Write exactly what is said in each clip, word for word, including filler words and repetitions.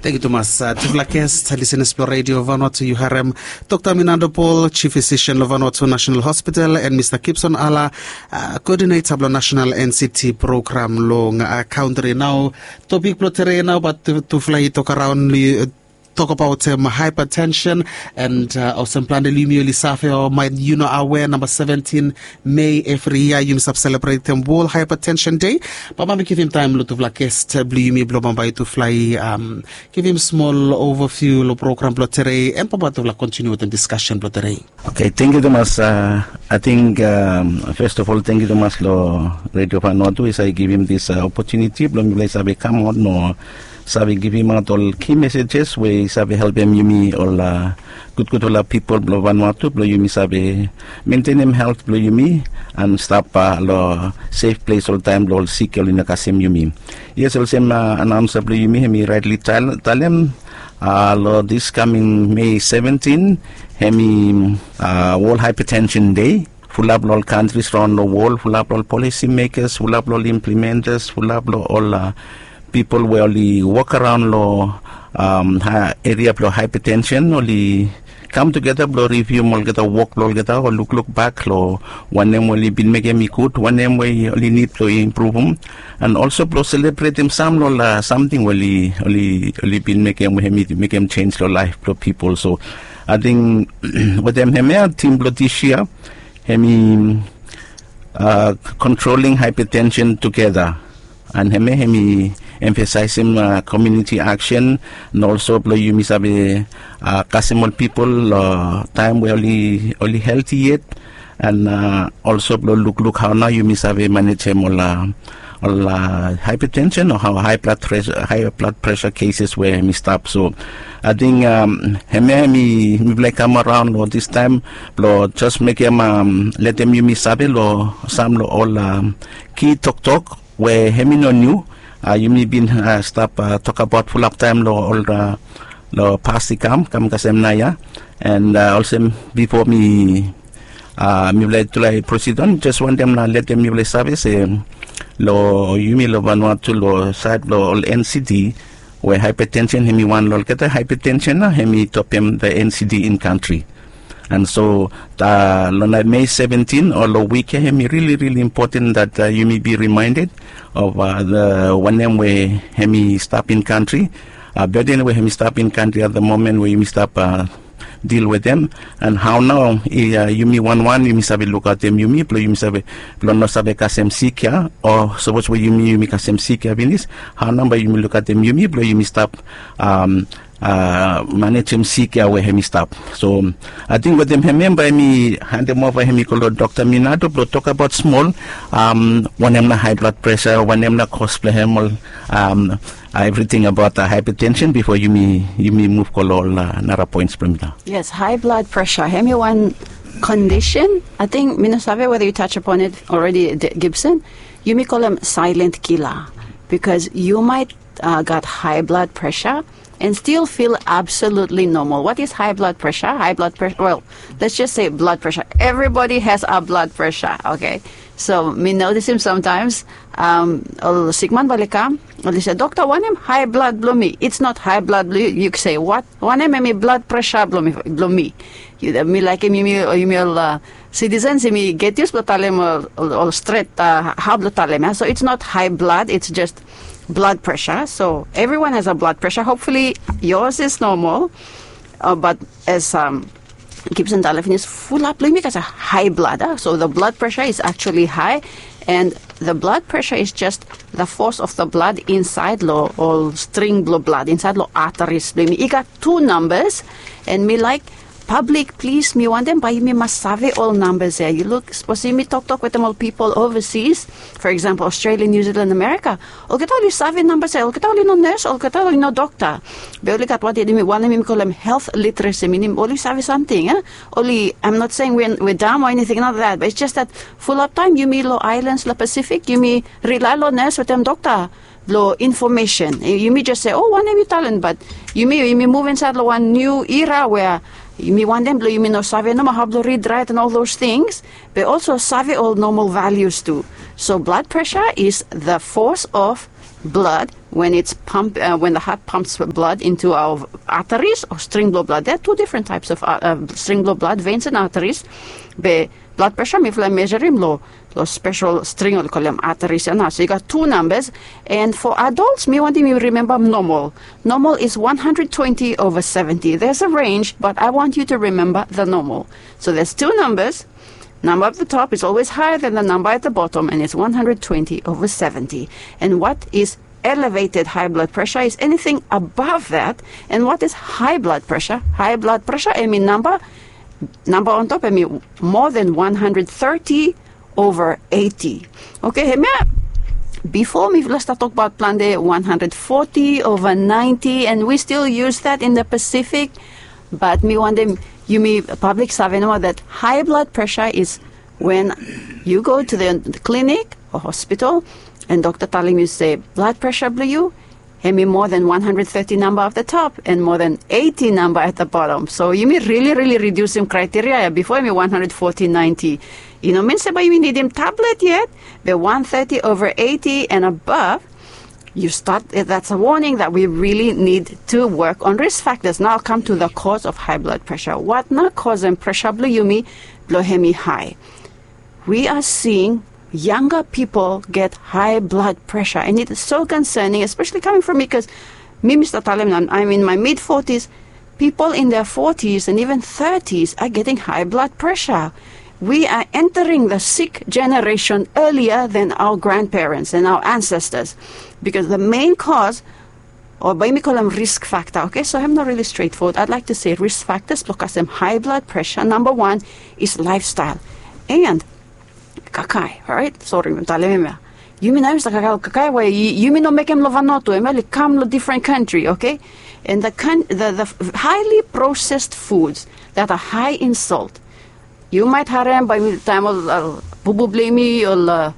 Tangkiu tumas tufala ges, lisenas blong redio Vanuatu, yu harem Dokta Minando Paul, Chief Physician long Vanuatu National Hospital, and Mista Gibson Ala, koodineta blong nasenal N C T program long kantri. Nao topik blong tere nao bat tufala i tok araon, tokbaot haepatensen. And olsem plante long yumi oli save o maet yu no awea, namba seventin Mei evri yia yumi save selebretem World Hypertension Day. Bambae mi givim taem long tufala ges blong yumi blong bambae tufala i givim smol overview long program blong tere, and bambae tufala kontiniu wetem diskasen blong tere. Oke, tangkiu tumas. Ating fes of ol tangkiu tumas long redio Vanuatu we i save givim dis opotuniti blong mifala i save kamaot mo save givimaot ol ki mesejes we i save helpem yumi ol gudgudfala pipol blong Vanuatu blong yumi save mentenem helt blong yumi and stap long sef ples oltaem blong ol sik oli no kasem yumi. Yes, olsem anaonsa blong yumi hem i raetli talem, long dis kaming Mei seventin hem i World Hypertension Day. Fulap long ol kantris raon long wol, fulap long ol polisi mekas, fulap long ol implimentas, fulap long ol pipol we oli wok araon long eria blong haepatensen, oli kam tugeta blong rivium olgeta wok blong olgeta o lukluk bak long wanem we oli bin mekem i gud, wanem we oli nid blong impruvum, and olso blong selebretem sam long ol samting we oli bin mekem we hem i mekem jenj long laef blong pipol. So ating wetem hemia tim blong dis yia hem i kontroling haepatensen tugeta. And hemia hem i emfasaesem komuniti aksen, and olso blong yumi save kasem ol pipol long taem we oli helti yet, and olso blong lukluk hao nao yumi save manejem ol haepatensen o hao hae blad presa keses we hem i stap. So ating hemia hem i mifala i kam araon long distaem blong jes mekem, letem yumi save long sam long ol ki toktok we hem i no niu. Yumi bin stap tokbaot fulap taem long ol long pas i kam kam kasem naoia. And olsem bifo mi mifala i tulae prosid on, jes wantem na letem mifala i save se long yumi long Vanuatu long saed blong ol N C D we haepatensen hem i wan long olgeta haepatensen nao hem i topem the N C D in kantri. And so long nae Mei seventin o long wik ya hem i rili rili impoten dat yumi bi rimaended of wanem we hem i stap in kantri, burden we hem i stap in kantri at the moment we yumi stap dil wetem, and hao nao yumi wanwan yumi save lukaotem yumi blong yumi save blong no save kasem sik ya, o sapos we yumi yumi kasem sik ya finis, hao nao bae yumi lukaotem yumi blong yumi stap manejem sik ya we hem i stap. So ating wetem hemia bae mi handem ova hem i go long Dokta Minado blong tokbaot smol wanem na hae blad presa, wanem na kos blong hem, ol evriting abaot haepatensen bifo yumi muv go long ol nara poens blong mifala. Yes, hae blad presa hem i wan kondisen. Ating mi no save weda yu touch upon it already, Gibson. Yumi kolem silent killer, bikos yu maet gat hae blad presa and stil fil absolutli nomal. What is hae blad presa? Hae blad presa, well, let's just say blad presa. Evribodi has a blad presa, oke? So mi notisim samtaems ol sikman bae oli kam, oli se, "Dokta, wanem hae blad blong mi?" It's not hae blad blong yu. Yu se, "Wat? Wanem hemi blad presa blong mi?" Mi laekem yumi ol sitisens yumi get yus blong talem ol stret hao blong talem ya. So it's not hae blad, it's just blood pressure. So everyone has a blood pressure. Hopefully yours is normal. But as Gibson talem finis, fulap blong yumi gat a hae blad. So the blood pressure is actually high, and the blood pressure is just the force of the blood insaed long ol string blong blad insaed long arteries blong yumi. I gat tu nambas, and mi laek pablik, plis, mi wantem bae yumi mas save ol nambas ya. Yu luk, sapos yumi toktok wetem ol pipol ovasis, for example, Australia, New Zealand, America, olgeta oli save nambas ya. Olgeta oli no nes, olgeta oli no dokta. Be oli gat wanem yumi kolem health literacy, minim oli save samting ya. Oli, I'm not saying we're dumb or anything like that, but it's just that fulap taem yumi long aelans long Pasifik yumi rilae long nes wetem dokta blong infomesen. Yumi jes se, "O, wanem yu talem?" Bat yumi, yumi muv insaed long wan niu era wea yumi wantem blong yumi no save nomo hao blong rid raet and all those things, be also save ol nomal values tu. So blood pressure is the force of blood when it's pump uh, when the heart pumps blood into our arteries or string blow blood. There are two different types of uh, uh, string blow blood, veins and arteries. Be blood pressure mifala measurim lo lo special string oli kolem arteries ya nao. So you got two numbers. And for adults, mi wantim yu remember normal. Normal is one hundred twenty over seventy. There's a range, but I want you to remember the normal. So there's two numbers. Number at the top is always higher than the number at the bottom, and it's one hundred twenty over seventy. And what is elevated high blood pressure is anything above that. And what is high blood pressure? High blood pressure, I mean, number number on top, I mean, more than one hundred thirty over eighty. Okay, hemia, before mifala start talk about plante one hundred forty over ninety, and we still use that in the Pacific. But mi wantim yumi public save nomo that high blood pressure is when you go to the clinic or hospital and dokta talem yu se blood pressure blo yu hemi more than one hundred thirty number at the top and more than eighty number at the bottom. So yumi really, really redusim criteria ya. Before hemi one hundred forty, ninety. I no mean se bae yumi nidim tablet yet, but one thirty over eighty and above, you start, that's a warning that we really need to work on risk factors. Now I'll come to the cause of high blood pressure. What nao cause and pressure blo yumi blo hemi high? We are seeing younger people get high blood pressure, and it is so concerning, especially coming from me, because mi mi start talem nao, I'm in my mid forties. People in their forties and even thirties are getting high blood pressure. We are entering the sick generation earlier than our grandparents and our ancestors, because the main cause, o bae mi kolem risk factor. Okay, so hemi no really straightforward. I'd like to say risk factors blo kasem high blood pressure. Number one is lifestyle and kakae. Alright, sori, mi talem hemia. Yumi nao yumi stap kakae ol kakae we yumi no mekem lo Vanuatu, hemia oli kam lo different country, okay? And the, the, the highly processed foods that are high in salt. Yu maet harem bae yumi taem ol bubu blo yumi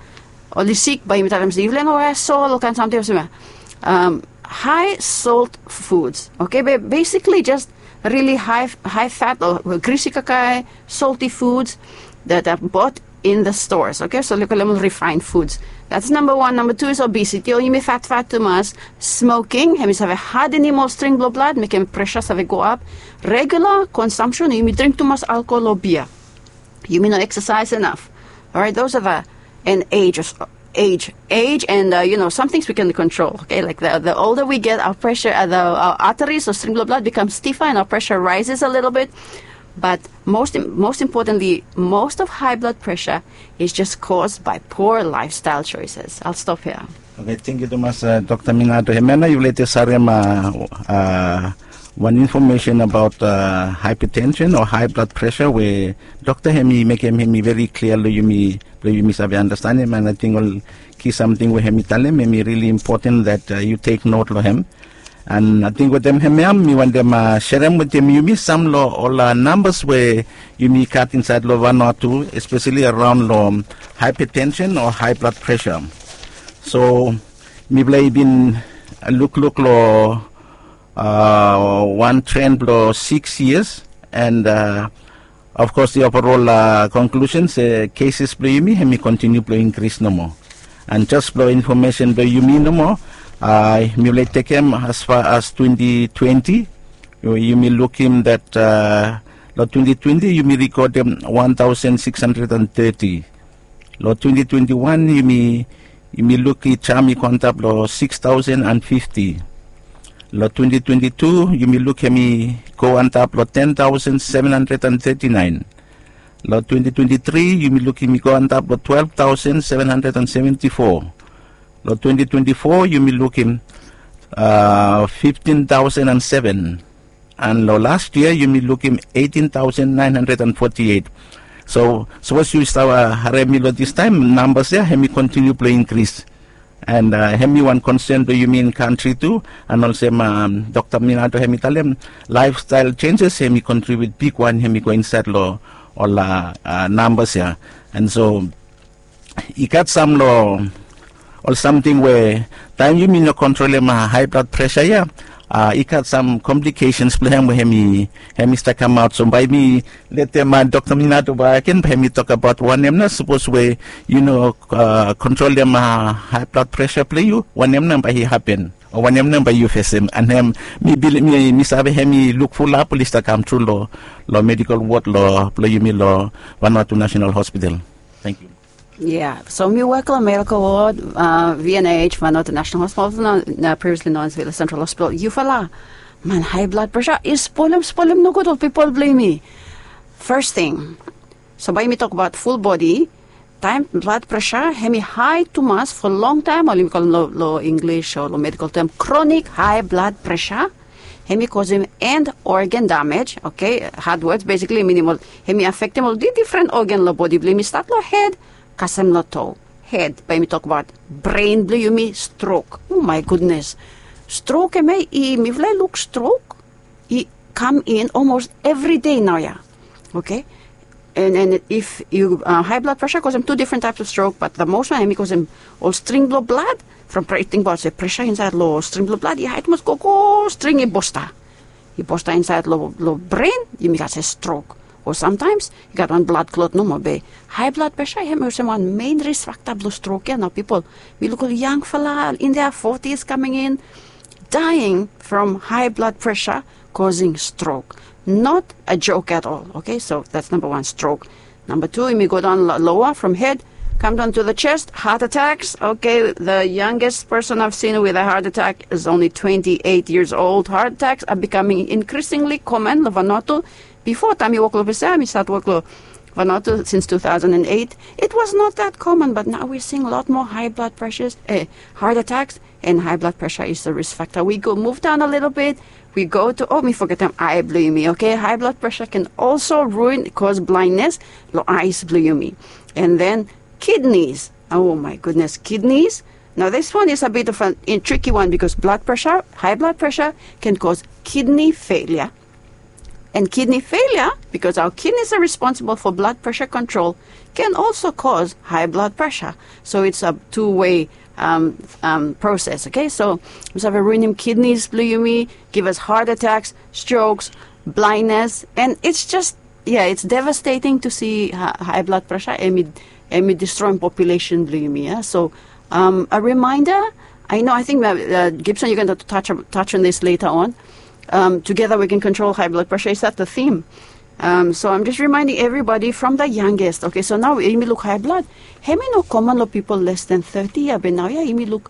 oli sik, bae yumi talem se yufala no waea sol, ol kaen samting olsem ya. High salt foods, okay? Be basically just really high, high fat o grisi kakae, salty foods that are bought in the stores, okay? So oli kolem ol refined foods. That's number one. Number two is obesity, o yumi fatfat tumas. Smoking, hemi save hadenem ol string blo blad, mekem pressure save go ap. Regular consumption, yumi dring tumas alkohol o bia. Yumi no exercise enough. Alright, those are the, and age, age, age, and uh, you know, some things we can control. Okay, like the, the older we get, our pressure, uh, the, our arteries or string blo blad becomes stiffer, and our pressure rises a little bit. But most, most importantly, most of high blood pressure is just caused by poor lifestyle choices. I'll stop here. Okay, thank you tumas, uh, Dr. Minato. Hemia nao yufala i jes harem, uh, uh, wan information about, uh, hypertension o high blood pressure we dokta hemi mekem hemi very clear lo yumi, lo yumi save understand hem, and I think ol ki samting we hemi talem hemi really important that, uh, you take note lo hem. And I think wetem hemia mi wantem, uh, serem wetem yumi sam lo ol, uh, numbers we yumi gat insaed lo Vanuatu, especially around lo hypertension o high blood pressure. So mifala i bin lukluk lo, uh, wan trend blo six years, and, uh, of course, the overall, uh, conclusion se cases blo yumi hemi continue blo increase nomo. And just blo information blo yumi nomo, uh, mifala i tekem as far as twenty twenty, yumi lukim that, uh, lo twenty twenty yumi recordem one thousand six hundred and thirty. Lo twenty twenty-one yumi, yumi luk i jam i go antap lo six thousand and fifty. Lo twenty twenty-two yumi luk hemi go antap lo ten thousand seven hundred and thirty-nine. Lo twenty twenty-three yumi luk hemi go antap lo twelve thousand seven hundred and seventy-four. Lo twenty twenty-four yumi lukim, uh, fifteen thousand and seven. And lo last year yumi lukim eighteen thousand nine hundred and forty-eight. So sapos yu stap, uh, harem mi lo distaem, numbers ya hemi continue blo increase. And, uh, hemi wan concern blo yumi in country tu. And olsem, um, Dr. Minato hemi talem, lifestyle changes hemi contribute bigwan, hemi go insaed lo ol, uh, uh, numbers ya. And so i gat sam lo ol samting we taem yumi no kontrolem, uh, high blood pressure ya, uh, i gat sam complications blo hem we hemi, hemi stap kamaot. So bae mi letem, uh, Dr. Minato bakegen bae hemi tokbaot wanem nao sapos we yu no, uh, kontrolem, uh, high blood pressure blo yu, wanem nao bae i hapen. Wanem nao bae yu fesem? And hem, mi save hem i luk fulap oli stap kam tru long medical ward blong yumi long Vanuatu National Hospital. Thank you. Yeah, so mi wok long medical ward, uh, V N H, Vanuatu National Hospital, no, no, previously known as Vila Central Hospital. Yufala, man, high blood pressure i spolem spolem nogut ol pipol blong yumi. First thing, so bae yumi tokbaot full body. Taem blood pressure hem i hae tumas for long taem, oli mi kolem long English o long medical term chronic high blood pressure. Hem i kosem end organ damage, okay? Hard words, basically minim ol hem i afektem ol difren organ long bodi blong yumi, stat long hed kasem long to. Hed, bae yumi tokbaot bren blong yumi, strok. O mae gudnes, strok hemia i, mifala i luk strok i kam in olmos evri dei naoia. Okay? And if yu, uh, high blood pressure kosem tu difren taeps of strok, but the most wan hem i kosem ol string blong blad from, tingbaot se pressure insaed long string blong blad i hae tumas, gogo string i bosta, i bosta insaed long bren, yumi gat se strok. O samtaems i gat wan bladklot nomo be high blood pressure hem i olsem wan mein risk factor blong strok ia. Nao pipol, mi luk ol yangfala in their forties coming in, dying from high blood pressure causing stroke. Not a joke at all. Okay, so that's number one, stroke. Number two, yumi go daon loa from hed, come down to the chest, heart attacks. Okay, the youngest person I've seen with a heart attack is only twenty-eight years old. Heart attacks are becoming increasingly common long Vanuatu. Bifo taem mi wok long Pacific, mi stat wok long Vanuatu since two thousand and eight, it was not that common, but now we're seeing a lot more high blood pressures, eh, heart attacks, and high blood pressure is a risk factor. We go move down a little bit. We go to, oh, mi fogetem ae blong yumi, okay? High blood pressure can also ruin, cause blindness long eyes blong yumi. And then kidneys. Oh my goodness, kidneys. Now this one is a bit of a tricky one because blood pressure, high blood pressure can cause kidney failure. And kidney failure, because our kidneys are responsible for blood pressure control, can also cause high blood pressure. So it's a two-way, um, um, process, okay? So we have a ruining kidneys blong yumi, give us heart attacks, strokes, blindness, and it's just, yeah, it's devastating to see high blood pressure. Hem i destroem population blong yumi ia. So, um, a reminder, I know, I think, uh, Gibson, you're going to touch, touch on this later on. Um, together we can control high blood pressure. Is that the theme? Um, so I'm just reminding everybody from the youngest. Okay, so nao yumi luk high blood. Hem i no common long pipol less than thirty ia, be naoia yumi luk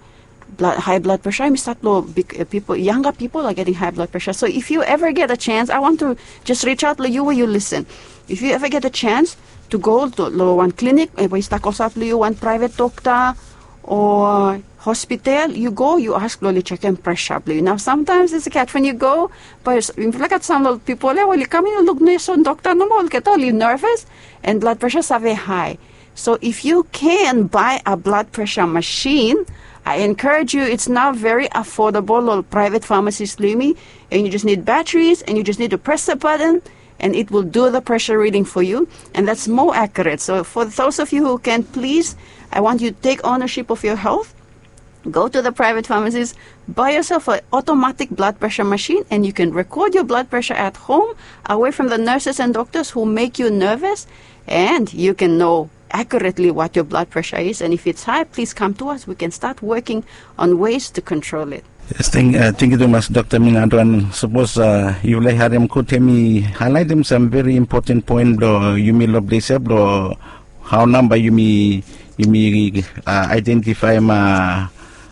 high blood pressure hem i stat long big, uh, pipol, younger people are getting high blood pressure. So if you ever get a chance, I want to just reach out long yu we yu listen. If you ever get a chance to go long wan klinik we i stap klosap long yu, wan private dokta o hospital, yu go, yu ask blong oli jekem pressure blong yu. Nao samtaems it's a catch when you go, but mifala gat sam long pipol ia we oli kam in luk nes o dokta nomo, olgeta oli nervous and blood pressure save hae. So if you can buy a blood pressure machine, I encourage you, it's now very affordable long private pharmacies blong yumi, and you just need batteries and you just need to press the button and it will do the pressure reading for you, and that's more accurate. So for those of you who can, please, I want you to take ownership of your health. Go to the private pharmacies, buy yourself an automatic blood pressure machine, and you can record your blood pressure at home, away from the nurses and doctors who make you nervous, and you can know accurately what your blood pressure is, and if it's high, please come to us. We can start working on ways to control it. Yes, thank, uh, thank you tumas, Dokta Minadwan. Sapos, uh, yufala i harem gud, hem i haelaetem sam very important poen blong yumi long ples ia blong hao nao bae yumi, yumi, uh, aedentifaem, uh,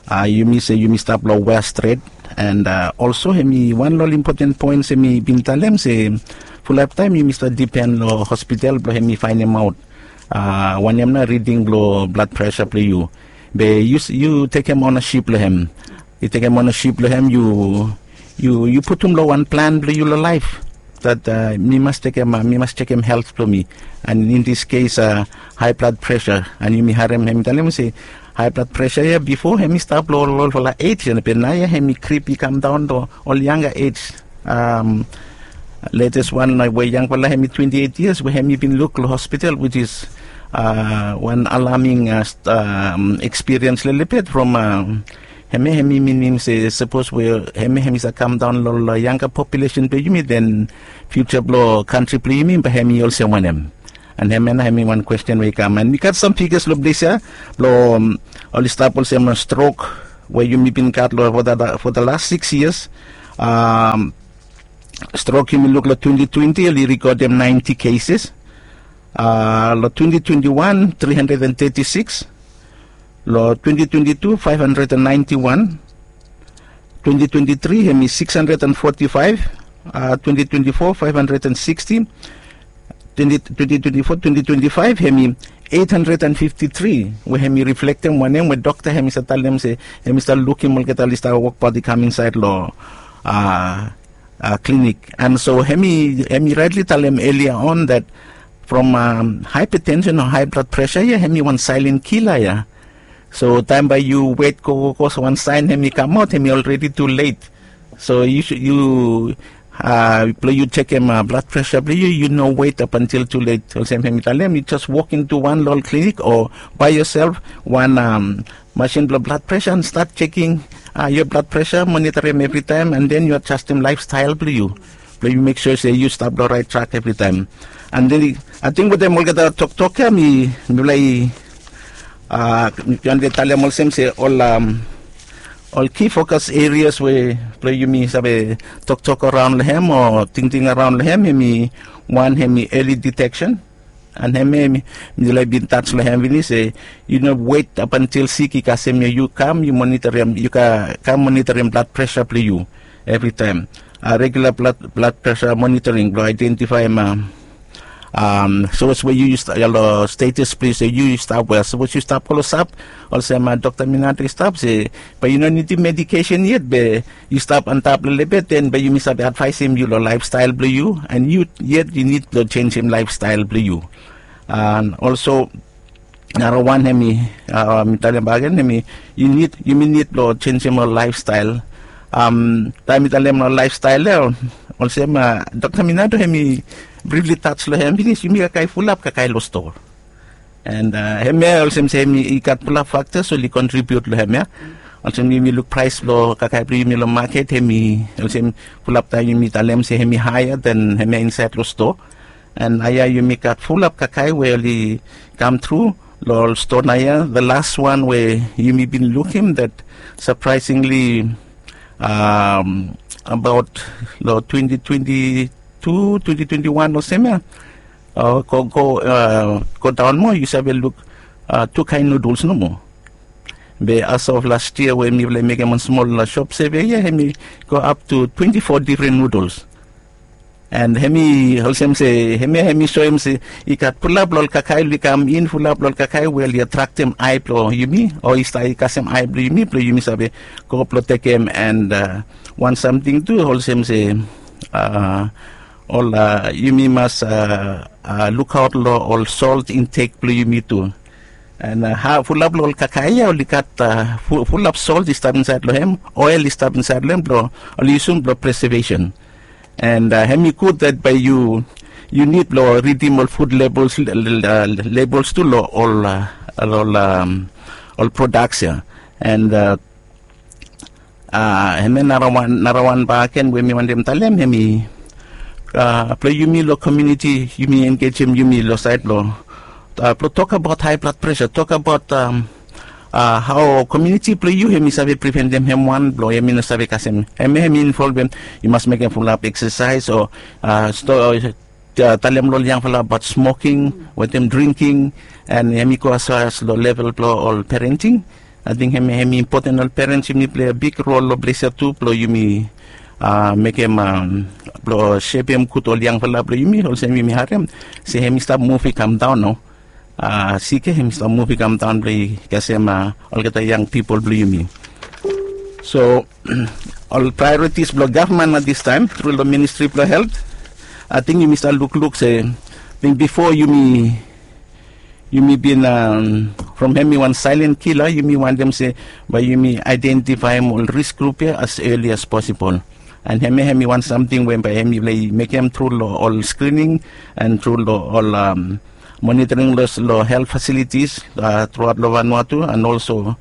uh, yumi se yumi stap long wea stret. And, uh, also hem i wan long ol important poens hem i bin talem se fulap taem yumi stap dipen long hospital blong hem i faenemaot, uh, wanem nao riding blong blood pressure blong yu. Be yu, yu tekem ownaship long hem. Yu tekem ownaship long hem, yu, yu, yu putum long wan plan blong yu long laef. That, uh, mi mas tekem, uh, mi mas jekem health blong mi. And in this case, uh, high blood pressure. And yumi harem hem i talem se high blood pressure ia bifo hem i stap long ol, olfala age, and be naoia hem i krip i kam daon long ol younger age. Um, latest wan we yangfala hem i twenty-eight years we hem i bin luk long hospital, which is, uh, wan alarming, uh, st-, um, experience lelebet from, um, hemia hem i minim se sapos we hemia hem i save kam daon long, long younger population blong yumi, then future blong kantri blong yumi bae hem i olsem wanem? And hemia nao hem i wan kwesten we i kam. And mi gat sam figures long ples ia blong, um, oli stap olsem, uh, strok, we yumi bin gat long for the last six years. Strok yumi luk long twenty twenty oli rekodem ninety cases. Long twenty twenty one three hundred and thirty six. Long twenty twenty two five hundred and ninety one. Twenty twenty three hemi six hundred and forty five. Twenty twenty four five hundred and sixty. Twenty twenty four twenty twenty five hemi eight hundred and fifty three, we hemi reflektem wanem we dokta hemi sa talem se hemi sa lukim olgeta oli sa wokbaot i kam insaed long klinik. And so hemi raetli talem elia on that from haepatensen o hae blad presa ya hemi wan saelen kila ya. So taem bae yu wet gogogo wan saen hemi kamaot hemi olredi tu let. So yu blong yu jekem blad presa blong yu yu no wet apantil tu let olsem hemi talem yu jes wok intu wan long ol klinik o bae yosel wan masin blong blad presa and stat jeking yo blad presa monitorim evritaem and den yu adjastim laefstael blong yu blong yu mek sua se yu stap long raet trak evritaem. And den ating wetem olgeta toktok ya mi mifala i wan de talem olsem se ol ki fokas erias we blong yumi save toktok araon long hem o tingting araon long hem hemi wan hemi eli diteksen. And hemia mi laik bin taj long hem finis se yu no wet apantil sik i kasem ya yu kam yu monitorim yu kam monitorim blad presa blong yu evritaem. Regula blad presa monitoring blong aedentifaem sapos we yu long status blong yu se yu stap we sapos yu stap klosap olsem dokta minato i stap se bae yu no nidim medikesen yet be yu stap antap lelebet den bae yumi save advaesem yu long laefstael blong yu and yu yet yu nid blong jenisim laefstael blong yu. And olso narawan hemi mi talem bagen hemi yu nid yumi nid blong jenisim ol laefstael. Taem mi talem long laefstael ya olsem dokta minato hemi brifli taj long hem finis yumi kakae fulap kakae long stoa. And hemia olsem se hemi i gat fulap faktas oli kontribiut long hemia. Olsem yumi luk praes blong kakae blong yumi long maket hemi olsem fulap taem yumi talem se hemi haea den hemia insaed long stoa. And aia yumi gat fulap kakae we oli kam tru long ol stoa naia the las wan we yumi bin lukim dat sapraesingli abaot long twenti twenti tu twenti twenti wan olsem ya go daon moa yu save luk tu kaen nuduls nomo. Be as of las yia we mifala i mekem wan smol sop seve ya hemi go ap tu twenti fo difren nuduls. And hemi olsem se hemia hemi soem se i gat fulap long ol kakae oli kam in fulap long ol kakae we oli atraktem ae blong yumi o i stap i kasem ae blong yumi blong yumi save go blong tekem and wan samting tu olsem se ol yumi mas lukaot long ol solt intek blong yumi tu. And fulap long ol kakae ya oli gat fulap solt i stap insaed long hem oel i stap insaed long hem blong oli yusum blong presevesen. And hemi gud dat bae yu yu nid blong ridim ol fud lebels tu long ol ol prodaks ya. And hemia narawan narawan baken we mi wantem talem hemi blong yumi long komiuniti yumi engejem yumi long saed blong blong tokabaot hae blad presa tokabaot hao komiuniti blong yu hemi save priventem hem wan blong hemi no save kasem hemia hemi involvem yu mas mekem fulap eksasaes o talem long ol yangfala abaot smoking wetem dringking. And hemi go asfas long level blong ol parenting. Ating hemi hemi impoten ol perens yumi plei a big rol long ples ya tu blong yumi mekem blong sepem gud ol yangfala blong yumi olsem yumi harem se hemi stap muv i kam daon nao. Sik ya hemi stap muv i kam daon blong i kasem olgeta yang pipol blong yumi. So ol praeoritis blong gavman na distaem tru long ministri blong helt ating yumi stap lukluk se bifo yumi yumi bin from hemi wan saelen kila yumi wantem se bae yumi aedentifaem ol risk grup ya as eli as posibol. And hemia hemi wan samting we bae hemi laik mekem tru long ol skrining and tru long ol monitoring long helt fasilitis truaot long vanua tu and olso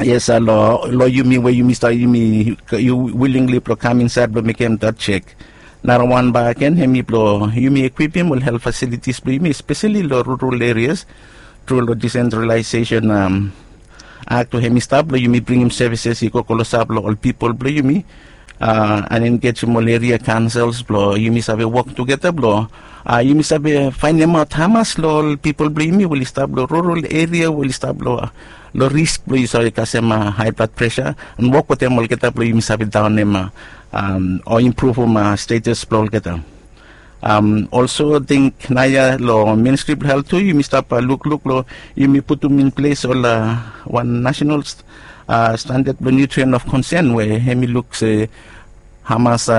yes long yumi we yumi stap yumi yu wilingli blong kam insaed blong mekem dat jek. Narawan baken hemi blong yumi ekwipim ol helt fasilitis blong yumi espeseli long rural erias tru long disentralaesesen akt we hem i stap blong yumi bringim sevises i go klosap long ol pipol blong yumi, a, an engejem ol eria kaonsels blong yumi save wok tugeta blong, a, yumi save faenemaot hamas long ol pipol blong yumi we oli stap long rural eria we oli stap long, long risk blong yu save kasem, a, hae blad presa, an wok wetem olgeta blong yumi save daonem, a, o impruvum, a, stetas blong olgeta. Olso ating naoia long ministri blong helt tu yumi stap lukluk long yumi putum in ples ol wan nasenal standad blong nutrien of konsen we hem i luk se hamas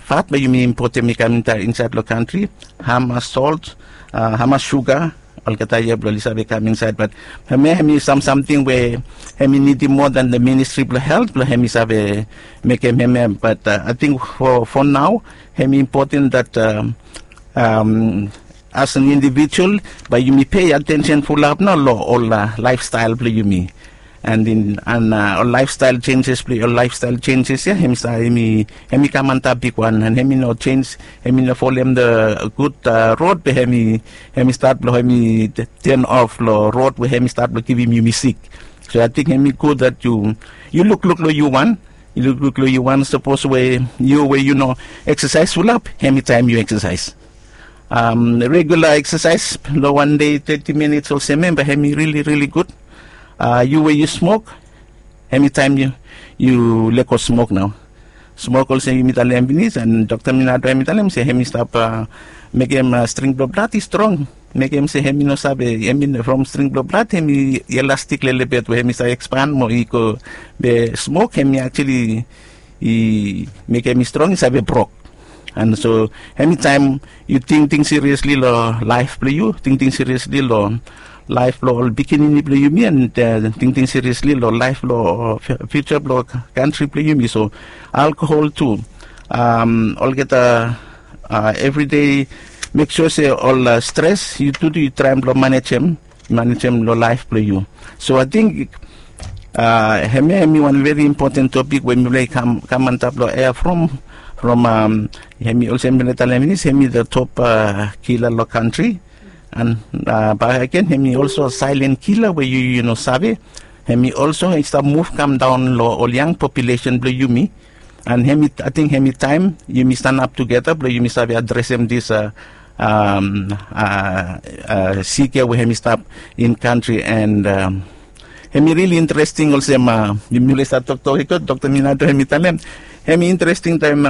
fat blong yumi impotem i kam insaed long kantri, hamas solt, hamas suga, olgeta ia blong oli save kam insaed. Bat hemia hem i sam samting we hem i nidim moa dan the ministri blong helt blong hem i save mekem hemia. Bat ating fo nao hem i impoten dat as an indivijual bae yumi pei atensen fulap nao long ol laefstael blong yumi. An ol laefstael jenjes blong ol laefstael jenjes ia hem i kam antap bigwan an hem i no jenj, hem i no folem the gud rod be hem i stat blong hem i ten of long rod we hem i stat blong givim yumi sik. So ating hem i gud dat yu lukluk long yu wan, yu lukluk long yu wan sapos we yu we yu no eksasaes fulap hem i taem yu eksasaes. Regula eksasaes long wan dei teti minits olsem em bae hem i rili rili gud. Yu we yu smok hem i taem yu lego smok nao. Smok olsem yumi talem pinis an dokta minado hem i talem se hem i stap mekem string blong blad i strong, mekem se hem i no save hem i from string blong blad hem i elastik lelebet we hem i save ekspan mo i go. Be smok hem i aktuali i mekem i strong i save brok. An so hem i taem yu tingting siriesli long laef blong yu, tingting siriesli long laef blong ol pikinini blong yumi an tingting siriesli long laef blong fiuja blong kantri blong yumi. So alkohol tu, olgeta evri dei mek sua se ol stres yu tu tu yu traem blong manejem manejem long laef blong yu. So ating hemia hem i wan veri impoten topik we mipela i kam antap long ea from from hem i olsem mipela i talem pinis hem i the top kila long kantri. An bak agen hem i olso saelen kila we yu yu no save. Hem i olso i stap muv kam daon long ol yang populesen blong yumi. An hem i ating hem i taem yumi stanap tugeta blong yumi save adresem dis a sik ya we hem i stap in kantri. An hem i rili interesting olsem mipela i stap toktok i go dokta minado hem i talem hem i interesting taem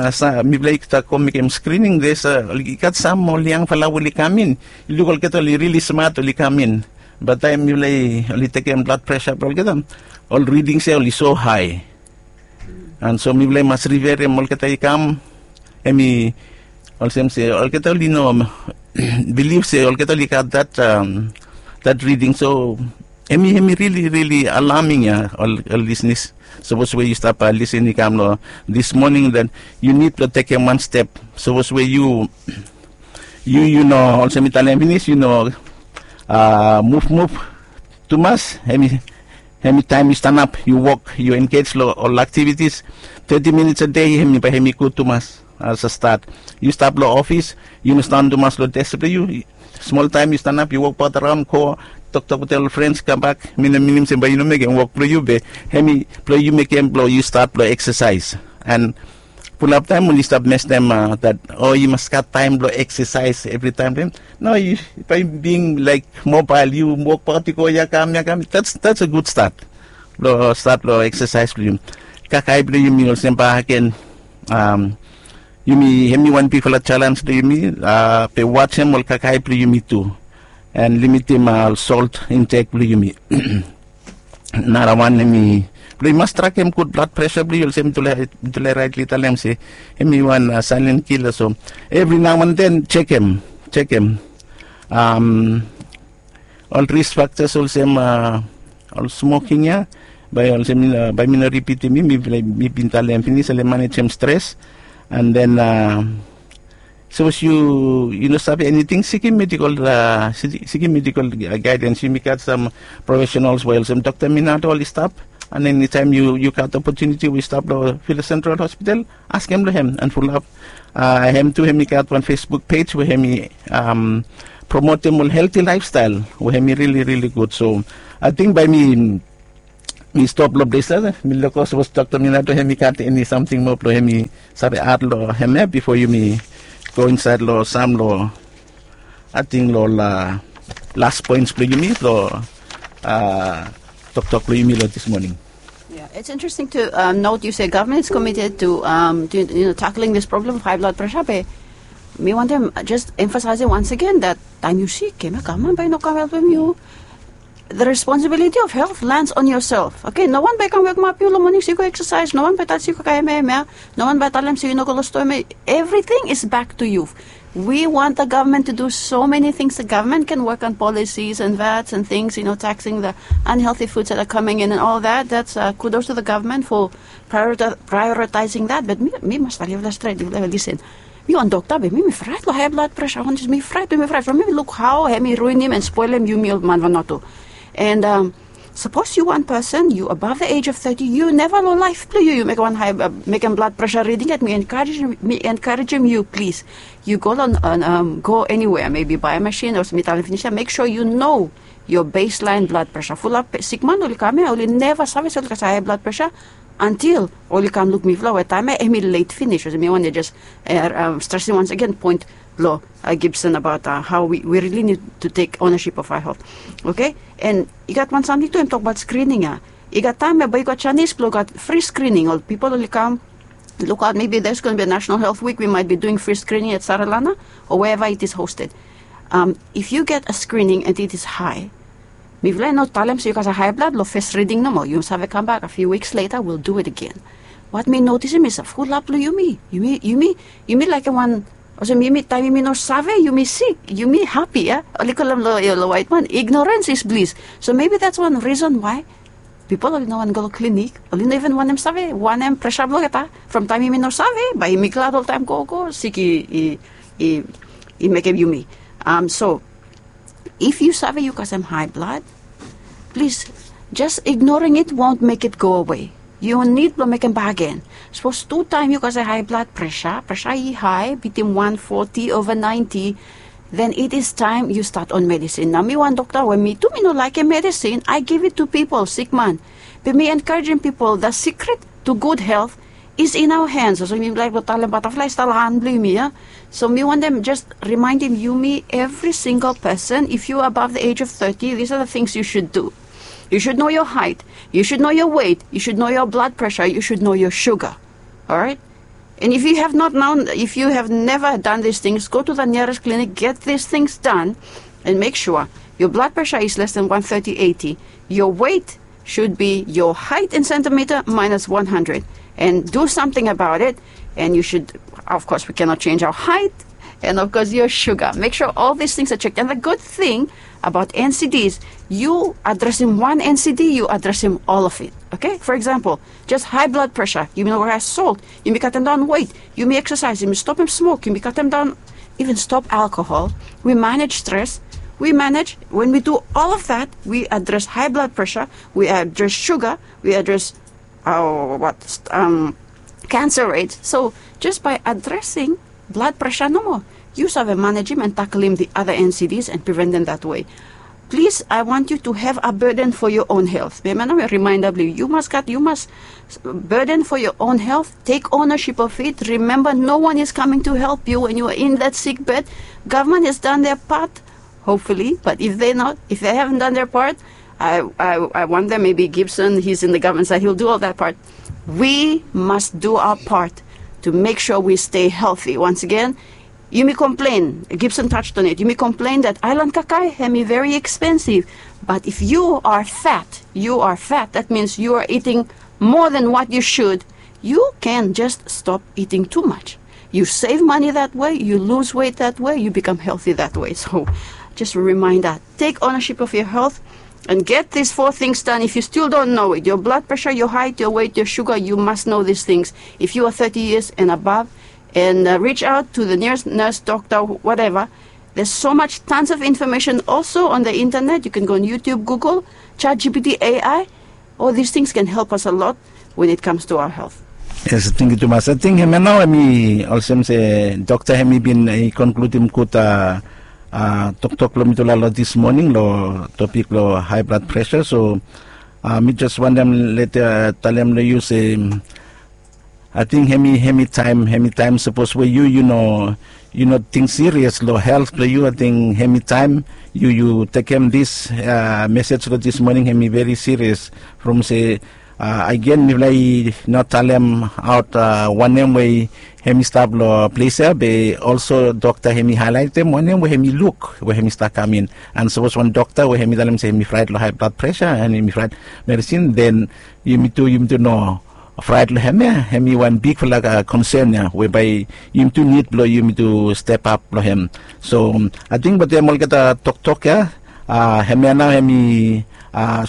mipela i stap go mekem skrining des i gat sam ol yangfala we oli kam in, i luk olgeta oli rili smat oli kam in. Bat taem mipela oli tekem blad presa blong olgeta ol ridings ya oli so hae. An so mipela i mas riverem olgeta i kam hem i olsem se olgeta oli no bilif se olgeta oli gat dat riding. So hem i hem i rili rili alaming ya ol ol lisnis. Sapos we yu stap lisin i kam long dis moning dat yu nid blong tekem wan step. Sapos we yu yu yu no olsem mi talem pinis yu no muvmuv tumas. Hemi taem yu stanap yu wok yu engej long ol aktivitis teti minits a dei hemi bae hemi gud tumas. As a stat yu stap long ofis yu no stan tumas long des blong yu. Smol taem yu stanap yu wokbaot araon go toktok wetem ol frens kambak mi no minim se bae yu no mekem wok blong yu be hemi blong yu mekem blong yu stat blong eksasaes. An fulap taem oli stap mestem dat o yu mas gat taem blong eksasaes evritaem blong him. No yu bae bing laek mobael yu wokbaot i go ya kam ya kam. Dats a gud stat blong stat blong eksasaes blong yu. Kakae blong yumi olsem bae aken yumi hemi wan bigfala jalens blong yumi. Be wajem ol kakae blong yumi tu an limitim ol solt intek blong yumi. Narawan hemi blong yu mas trakem gud blad presa blong yu olsem mitulai raetli talem se hemi wan saelen kila so evri naoanden jekem jekem ol ris faktas olsem ol smoking ya. Bae olsem bae mi no ripitim mi mi bin talem pinis oli manejem stres. An den sapos yu yu no save eniting sikim medikol sikim medikol gaedens yumi gat sam profesenals we olsem dokta minato oli stap. An enitaem yu yu gat opotuniti we yu stap long vila sentral hospital askem long hem an fulap. Hem tu hemi gat wan facebook pej we hemi promotem ol helti laefstael we hemi rili rili gud so ating bae mi mi stop long ples ya. Mi luk sapos dokta Minato hemi gat eni samting moa blong hemi save ad long hem ya bifo yumi go insaed long sam long ating long ol las poens blong yumi long toktok blong yumi long dis moning. Yeah, it's interesting to um, note you say government is committed to, um, to you know, tackling this problem of high blood pressure. But me want them just emphasizing once again that time you sick, kema government by no come help you. The responsibility of health lands on yourself. Okay, no one by come wake up you in the morning, so you go exercise. No one by touch you, kaka eme eme. No one by tell them so you no go lost to eme. Everything is back to you. We want the government to do so many things. The government can work on policies and vats and things, you know, taxing the unhealthy foods that are coming in and all that. That's uh, kudos to the government for priorita- prioritizing that. But me, me must tell you straight, listen. Me wan dokta, be me, me fraet long high blood pressure. Wan jis me fraet, me fraet. From me luk hao hemi ruinim and spoelem yumi ol man Vanuatu. And um, Sapos yu wan person, yu above the age of thirty, yu neva long laef blong yu yu mekem wan high, mekem blood pressure reading yet. Mi encouragem, mi encouragem yu, plis, yu go long, go anywhere, maybe buy a machine o mi talem finis ya, make sure yu know your baseline blood pressure. Fulap sikman oli kam ya, oli neva save se oli gat high blood pressure until oli kam luk mifala we taem ya hemi late finish. Olsem mi wantem jes stresem once again point blong Gibson about how we really need to take ownership of our health. Okay? And i gat wan samting tu, hem tok about screening ya. I gat taem ya bae i gat janis blong gat free screening. Ol pipol oli kam lukaot, maybe there's going to be a National Health Week, we might be doing free screening at Saralana or wherever it is hosted. Um, if you get a screening and it is high, mifala i no talem se yu gat a high blood long first reading nomo. Yu save kambak a few weeks later, we'll do it again. Wat mi notisim is a fulap long yumi, yumi, yumi, yumi laekem wan, olsem yumi taem yumi no save yumi sik, yumi hapi ya. Oli kolem long waet man, ignorance is bliss. So maybe that's one reason why pipol oli no wantem go long klinik, oli no even wantem save wanem pressure blong olgeta. From taem yumi no save, bae yumi glad oltaem gogo, sik i, i, i mekem yumi. Um, so if yu save yu kasem high blood, plis, just ignoring it won't make it go away. Yu nid blong mekem bagen. Sapos tu taem yu kasem high blood pressure, pressure i high bitim one forty over ninety, then it is time you start on medicine. Nao mi wan dokta we mi tu mi no laekem medicine, I give it to people, sikman. Be mi encouragem pipol, the secret to good health is in our hands. Olsem mi laek blong talem, butterfly i stap long han blong yumi ya. So mi wantem jes rimaendem yumi, every single person, if you are above the age of thirty, these are the things you should do. You should know your height, you should know your weight, you should know your blood pressure, you should know your sugar. Alright? And if you have not known, if you have never done these things, go to the nearest clinic, get these things done, and make sure your blood pressure is less than one thirty eighty. Your weight should be your height in centimeter minus one hundred, and do something about it. And you should, of course, we cannot change our height, and of course your sugar. Make sure all these things are checked. And the good thing about N C Ds, you addressing one N C D, you addressing all of it. Okay? For example, just high blood pressure. Yumi no go high salt. Yumi katem daon weight. Yumi exercise. Yumi stopem smoke. Yumi katem daon, even stop alcohol. We manage stress. We manage, when we do all of that, we address high blood pressure, we address sugar, we address our what um, cancer rates. So just by addressing blood pressure nomo, yu save manejem and taklem the other N C Ds and preventem that way. Plis, I want you to have a burden for your own health. Memba nao, reminder blong yu, yu mas gat, yu mas burden for your own health. Take ownership of it. Remember, no one is coming to help you when you are in that sick bed. Government has done their part, hopefully, but if they not, if they haven't done their part, I, I, I wonder, maybe Gibson, he's in the government side, he'll do all that part. We must do our part to make sure we stay healthy. Once again, yumi complain, Gibson touched on it, yumi complain that aelan kakae hemi very expensive. But if you are fat, you are fat, that means you are eating more than what you should, you can just stop eating too much. You save money that way, you lose weight that way, you become healthy that way. So just a reminder, take ownership of your health and get these four things done. If you still don't know it, your blood pressure, your height, your weight, your sugar, you must know these things. If you are thirty years and above, and uh, reach out to the nearest nurse, doctor, whatever. There's so much, tons of information also on the internet. You can go on YouTube, Google, ChatGPT, A I. All these things can help us a lot when it comes to our health. Yes, thank you tumas. I think hemia nao hemi olsem se dokta hemi bin i konkludim gud toktok blong mitufala long this morning long topik blong high blood pressure. So Mi jes wantem leta talem long yu se, ating hemi hemi taem hemi taem sapos we yu yu no yu no ting sirias long helt blong yu, ating hemi taem yu yu tekem dis mesej long dis moning hemi veri sirias. From se agen mifala i no talem aot wanem we hemi stap long ples ya, be olso dokta hemi haelaetem wanem we hemi luk we hemi stap kam in. An sapos wan dokta we hemi talem se hemi fraet long hae blad presa an hemi fraet medisin, den yumi tu yumi tu no fraet long hem ya. Hemi wan bigfala konsen ya we bae yumi tu nid blong yumi tu step ap long hem. So ating batem olgeta toktok ya, hemia nao hemi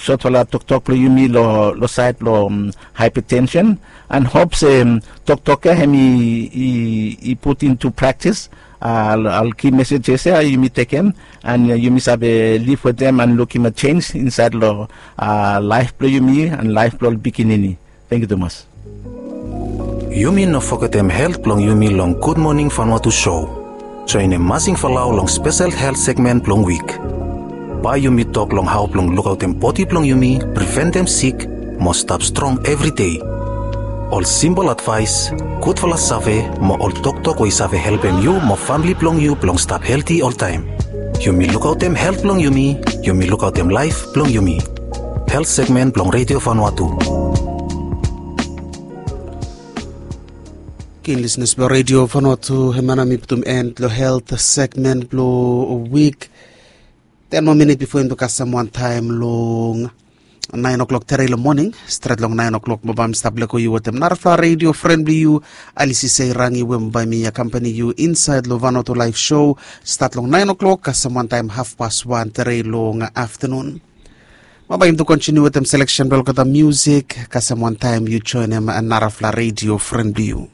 sotfala toktok blong yumi long saed blong haepatensen. An hop se toktok ya hemi i put into praktis. Al ki mesejes ya yumi tekem an yumi save liv wetem an lukim a jenj insaed long laef blong yumi an laef blong ol pikinini. Tangkiu tumas. Yumi no fogetem helt blong yumi long gudmoning fanwatu sou. Joenem masing falao long spesel helt segmen blong wik. Bae yumi tok long hao blong lukaotem bodi blong yumi, preventem sik mo stap strong evri dei. Ol simpol advaes, gudfala save mo ol toktok we i save helpem yu mo famle blong yu blong stap helti oltaem. Yumi lukaotem helt blong yumi, yumi lukaotem laef blong yumi. Helt segmen blong redio fanwatu. Ken lisnes blong redio fanwatu, hemia nao mi putum en long helt segmen blong wik. Ten moa minit bifo yumi tu kasem wantaem long naen oklok tere long moning. Stret long naen oklok mo bae mi stap lego yu wetem narafala redio fren blong yu, alisi sei rangi we mo bae mi akampani yu insaed long vanoto laef sou. Stat long naen oklok kasem wantaem hafpas wan tere long aftanun. Mo bae yumi tu kontiniu wetem seleksen blong olgeta miusik kasem wantaem yu joenem narafala redio fren blong yu.